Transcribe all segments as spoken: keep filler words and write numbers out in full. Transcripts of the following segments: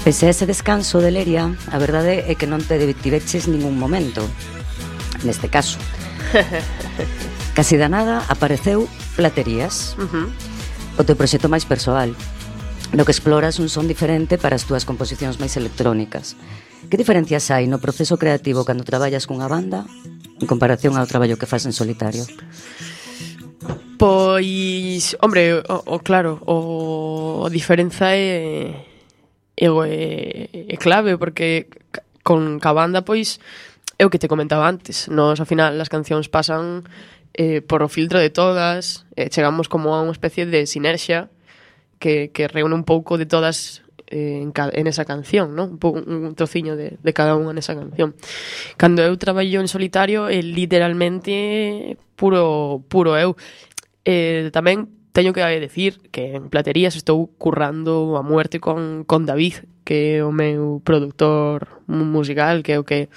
Pese a ese descanso de Leria, a verdade é que non te tiveches ningún momento. Neste caso, casi da nada apareceu Platerías, Uh-huh. o teu proxecto máis persoal, no que exploras un son diferente para as túas composicións máis electrónicas. Que diferencias hai no proceso creativo cando traballas cunha banda en comparación ao traballo que fas en solitario? Pois, hombre, o, o claro, o a diferenza é é, é, é clave, porque con ca banda, pois, é o que te comentaba antes. Nos, ao final, as cancións pasan eh, por o filtro de todas, eh, chegamos como a unha especie de sinerxia que, que reúne un pouco de todas eh, en, ca, en esa canción, ¿no? Un, pouco, un trociño de, de cada unha nesa canción. Cando eu traballo en solitario, é literalmente puro, puro eu. Eh, tamén teño que decir que en Platerías estou currando a muerte con, con David, que é o meu produtor musical, que é o que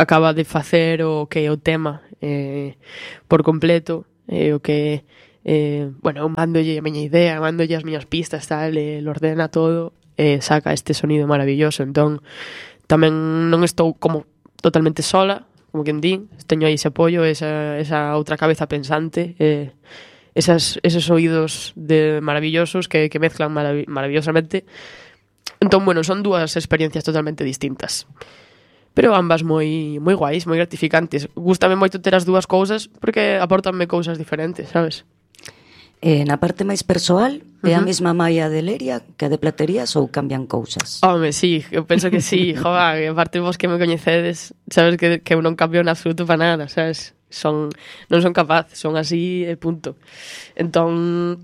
acaba de facer o que é o tema eh, por completo, é o que eh, bueno, mandolle a miña idea, mandolle as miñas pistas, tal, e lo ordena todo e saca este sonido maravilloso. Entón tamén non estou como totalmente sola, como quen din, teño aí ese apoio, esa, esa outra cabeza pensante, eh, esas, esos oídos de maravillosos que, que mezclan marav maravillosamente. Entón, bueno, son dúas experiencias totalmente distintas, pero ambas moi moi guais, moi gratificantes. Gústame moito ter as dúas cousas porque apórtanme cousas diferentes, sabes? Eh, na parte máis persoal, é a Uh-huh. mesma malla de Leria que a de Platerías ou cambian cousas? Home, sí, eu penso que sí. Joa, aparte vos que me coñecedes, sabes que, que eu non cambio en absoluto para nada, sabes? Son, non son capaz, son así e punto. Entón,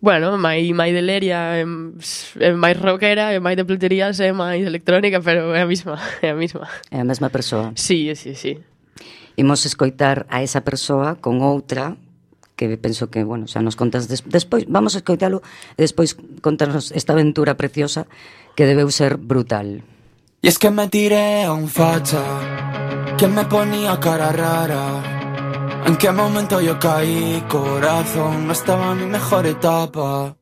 bueno, mai, mai de Leria é, é máis rockera, e máis de Platerías é máis electrónica, pero é a mesma, é a mesma. É a mesma persoa. Sí, sí, sí. Imos escoitar a esa persoa con outra que penso que, bueno, xa nos contas des despois, vamos a escoitalo e despois contarnos esta aventura preciosa que debeu ser brutal. Y es que me tiré a un facha que me ponía cara rara. ¿En qué momento yo caí? Corazón, no estaba en mi mejor etapa.